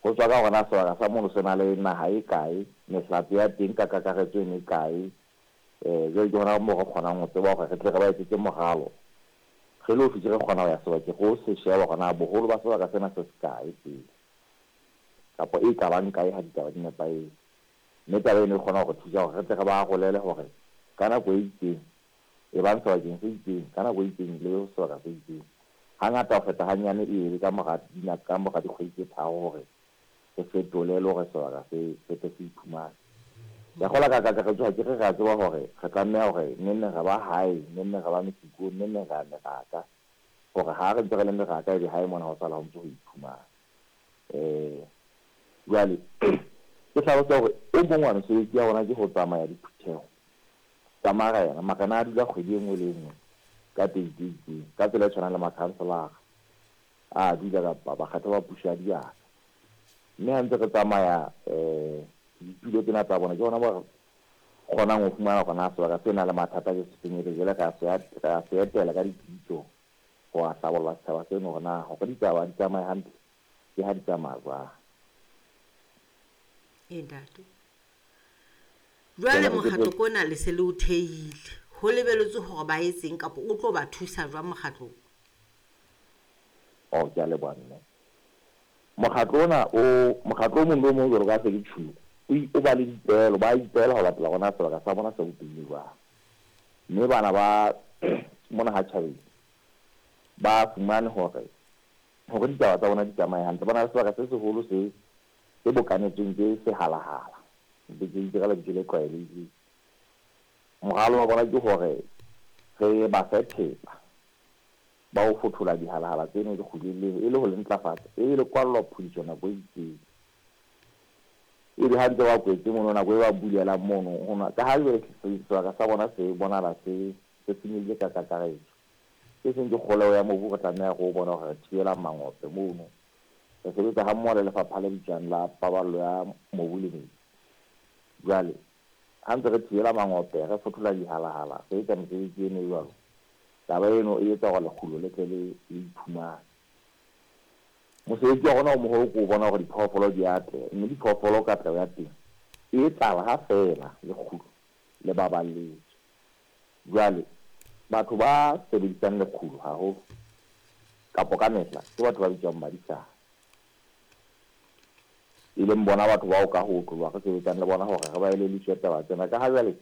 Ho tswa ka hore na sebaka sa mono se na le naha e kae, mehlape ya teng ka kakaretso e mekae. Jwale ke hona moo re kgonang ho tseba hore re tle re ba etsetse moralo. Re le ofisi re kgona ho ya sebakeng re o se sheba hore na boholo ba sebaka sena se sekae pele, kapa e ka bang kae ha ditaba di nepahetse. Mme taba eno e kgona ho re thusa hore re tle re ba arolele hore ka nako e itseng e bang sebakeng se itseng, ka nako e itseng le sebaka se itseng. Hangata ho feta hanyane e be ka mora dikgwedi tse tharo hore re fetole le hore sebaka se se tle se iphumane. Ke a kgolwa ka kakaretso ha ke re re a tseba hore re tlameha hore neng neng re ba hae, neng neng re ba mesikong, neng neng re ya meraka, hore ha re ntse re le meraka ebe hae mona ho sala ho ntse ho iphumana. Jwale ke hlalosa hore o mong wa mesebetsi ya rona ke ho tsamaya diphutheho tsa marena. Marena a dula kgwedi e nngwe le e nngwe ka date e itseng, ka tsela e tshwanang le makhanselara a dula kapa bakgethwa ba puso ya dibaka. Mme ha ntse re tsamaya ditulo tsena tsa bona, ke hona moo re kgonang ho fumana hore na sebaka se nang le mathata ke sefeng, ebe jwale re a se etela ka dipitso ho a hlabolla setjhaba seno hore na hore ditaba di tsamaye hantle ke ha di tsamaya jwang. E ntate, jwale mokgatlo ko ona le se le o thehile, ho lebeletswe hore ba etseng kapa o tlo ba thusa jwang mokgatlong? Oh, ke a leboha mme. Mokgatlo ona o mokgatlo o mong le o mong jwalo ka se ke tjhulo, o ba le dipeelo, ba ipeela ho latela hore na sebaka sa bona se bopehile jwang. Mme bana ba mona ha tjhabeng ba fumane hore hore ditaba tsa bona di tsamaye hantle, ba na le sebaka se seholo se se bokanetsweng ke sehalahala, ke itse ka lebitso le tlwaelehileng. Moralo wa bona ke hore re ba fe thepa ba ho fothola dihalahala tseno lekguleng leo e le ho le ntlafatsa, ebe le kwallwa phodiso nako e itseng. Ebe ha ntse ba kwetse mono nako e ba bulelang mono, hona ka ha jwale sebaka sa bona se bonahala se se senyehile ka kakaretso. Se seng ke kgoleho ya mobu, re tlameha re o bona hore re thibela mangope mono. Re sebetsa ha mmoho le lefapha le bitswang la paballo ya mobu le metsi. Jwale ha ntse re thibela mangope, re fothola dihalahala, re etsa mesebetsi eno e jwalo, taba eno e etsa hore lekgulo le tle le iphumane. Mosebetsi wa rona o moholo ke ho bona hore diphoofolo di atleha, mme diphoofolo katleho ya teng e etsahala ha feela lekgulo le baballetswe. Jwale batho ba sebedisang lekgulo haholo kapo ka mehla ke batho ba bitswang badisana, e leng bona batho bao ka ho otloloha re sebetsang le bona hore re ba elelliswe taba tsena. Ka ha jwale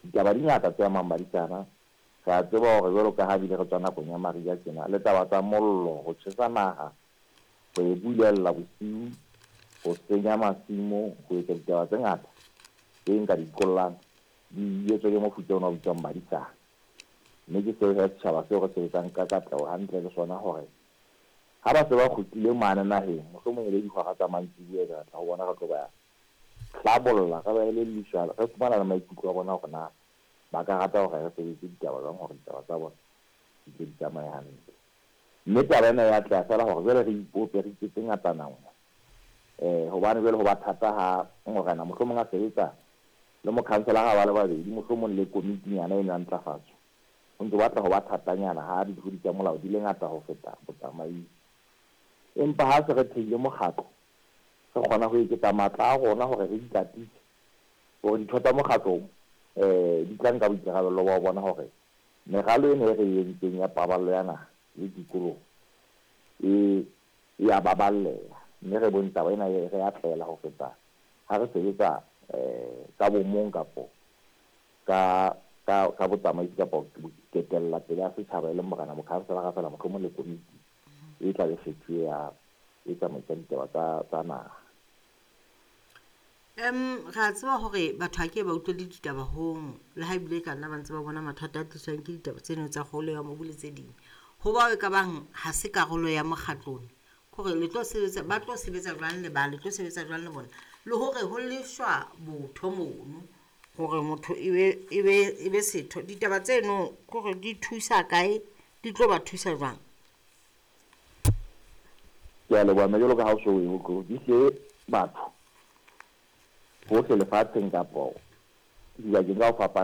ditaba di ngata tse amang badisana, re a tseba hore jwalo ka ha bile re tswa nakong ya mariha tjena, le taba tsa mollo, ho tjhesa naha, ho e bulella bosiu, ho senya masimo, ho etsa ditaba tse ngata tse nka di qollang di etswa ke mofuta ona o bitswang badisana. Mme ke seo he setjhaba seo re sebetsang ka katleho hantle le sona hore ha ba se ba kgutlile mane naheng, mohlomong e le dihora tsa mantsiboya, re tla ho bona re tlo ba hlabolla, re ba elelliswa, re fumana le maikutlo a bona hore na ba ka rata hore re sebetse ditaba jwang hore ditaba tsa bona di tle di tsamaye hantle. Mme taba ena ya atleha feela hore jwale re ipope, re iketse ngatana nngwe. Hobane jwale ho ba thata ha morena mohlomong a sebetsa le mokhanselara ba le babedi, mohlomong le komitinyana eno ya ntlafatso. Ho ntse batla ho ba thatanyana ha ditlodi tsa molao di le ngata ho feta botsamaisi. Empa ha se re thehile mokgatlo, re kgona ho eketsa matla a rona hore re ikatise hore ditho tsa mokgatlo di tla nka boikarabello ba ho bona hore meralo ena e re e entseng ya paballo ya naha le tikoloho e ya baballeha. Mme re bone taba ena re atlela ho feta ha re sebetsa ka bomong kapo ka botsamaisi kapo ketella pele ya setjhaba e leng morena mokhanselara feela, mohlomong le komiti e tla be kgethuwe ya e tsamaisang ditaba tsa naha. Re a tseba hore batho ha ke ba utlwele ditaba hong, le ha ebile ka nna ba ntse ba bona mathata a tliswang ke ditaba tseno tsa kgolo ya mobu le tse ding. Ho bao e ka bang ha se karolo ya mokgatlong, hore le tlo sebetsa, ba tlo sebetsa jwang le ba, le tlo sebetsa jwang le bona, le hore ho lefshwa botho mono hore motho e be setho. Ditaba tseno hore di thusa kae, di tlo ba thusa jwang? Ke a leboha mme, jwalo ka ha o so o e utlwe, di hle batho hohle lefatsheng kapo dibakeng ka ho fapana.